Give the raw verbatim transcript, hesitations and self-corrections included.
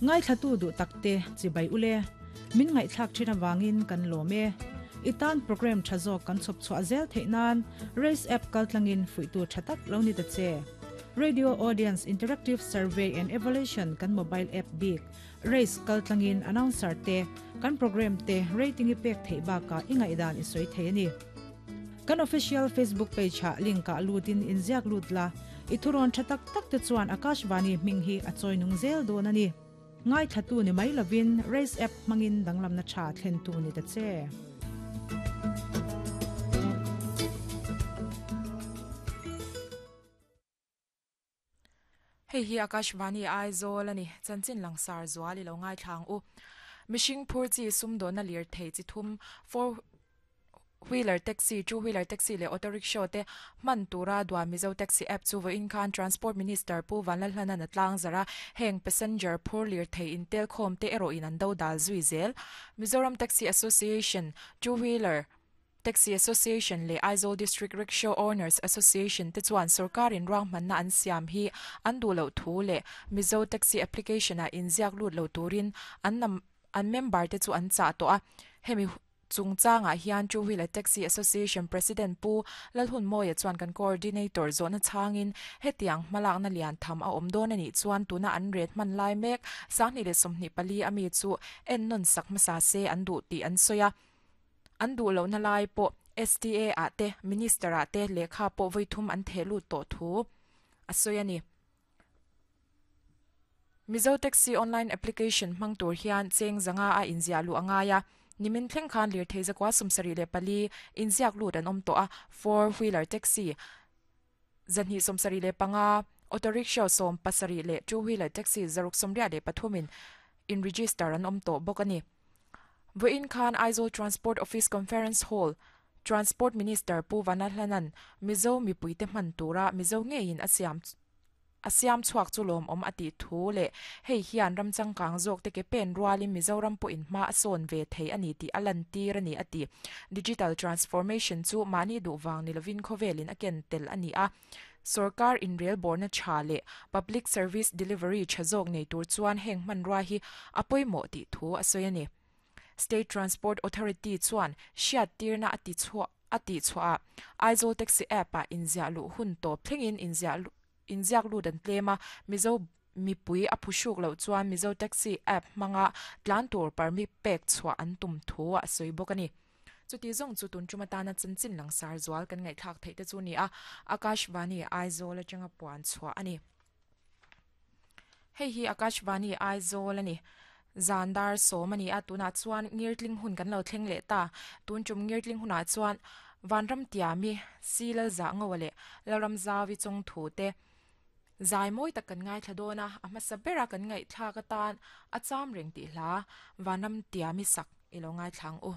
Ngai thlatu du takte chibai ule min ngai thlak thina wangin kan lome itan program thazo kan chop chwa zel theinan race app kaltlangin fuitu thatak lo ni ta che Radio Audience Interactive Survey and Evaluation kan mobile app big race kaltlangin announcer te kan program te rating i pek thei ba ka ingai dan i soi thei ani kan official Facebook page ha link ka lutin inziak lutla ithuron thatak tak te chuan Akashvani minghi a choinung zel don ani ngai thatu ni mai lovin race app mangin danglam na tha thlen tu ni ta che Hei hi Akashvani Aizawl ani chanchin langsar zuali lo ngai thlang u mishing phur chi sumdo na lir thei chi thum four wheeler taxi two wheeler taxi le auto rickshaw te man tura dwa Mizo taxi app chu vo in khan transport minister Pu Vanlalhlana na tlang zara heng passenger phur lir thei in tel khom te ero in an do dal zui zel Mizoram Taxi Association two wheeler Taxi Association le Aizawl District Rickshaw Owners Association te chuan sarkarin ruang manna an siam hi an du lo thu le Mizo Taxi application a inziak lut lo turin an nam an member te chu an cha to a hemi chungchanga hian two wheeler taxi association president Pu Lalhun Moya chuan kan coordinator zona changin hetiang malak na lian tham a awm dawn ani chuan tuna an ret man lai mek sangni le sawmhnih pali ami chu en non sak hmasa se an du ti an soya an du lo na lai po S T A a te minister a te lekha po voithum an thelu to thu asoya ni Mizo Taxi online application hmang tur hian cheng zanga a inzia lu angaya nimin thleng khan lir thei zakwa sumsari le pali inziak lut an awm tawh a four wheeler taxi zanhi sumsari le panga auto rickshaw sawm pasarih le two wheeler taxi zaruk sawmriat le pathumin in register an awm tawh bawk ani Voin Khan Aizawl Transport Office Conference Hall Transport Minister Pu Vanlalhlanan Mizo mipuite hman tura Mizo ngeiin a siam a siam chhuak chu lawm awm ati thu le hei hian ramchangkang zawk te ke pen rualin Mizoram pawh in hma a sawn ve thei ani tih a lan tir ani ati digital transformation chu mahni duhwang nilovin khawvelin a ken tel ani a sarkar in rail borna tha le public service delivery tha zawk nei tur chuan heng hman rua hi a pawimawh tih thu a sawi ani State Transport Authority chuan hriat tirna ati chhuah ati chhuah Aizawl Taxi app a inziah luh hun tawp thlengin inziah inziak lut an tlema Mizo mipui a phuhruk loh chuan Mizo Taxi app hmanga tlan tur permit pek chhuah an tum thu a sawi bawk ani chuti zawng chu tun tuma tana chanchin langsar zual kan ngaihthlak theih te chu ni a Akashvani Aizawl atanga puan chhuah ani hei hi Akashvani Aizawl ani Zandar somani a tuna chuan ngirtling hun kan lo thleng le ta tun chum ngirtling huna chuan vanram tiami silal za ngawale laram zawi chung thu te zai moi tak kan ngai thladona a hmasa bera kan ngai thla ka tan a cham reng ti hla vanram tiami sak ilo ngai thlang u.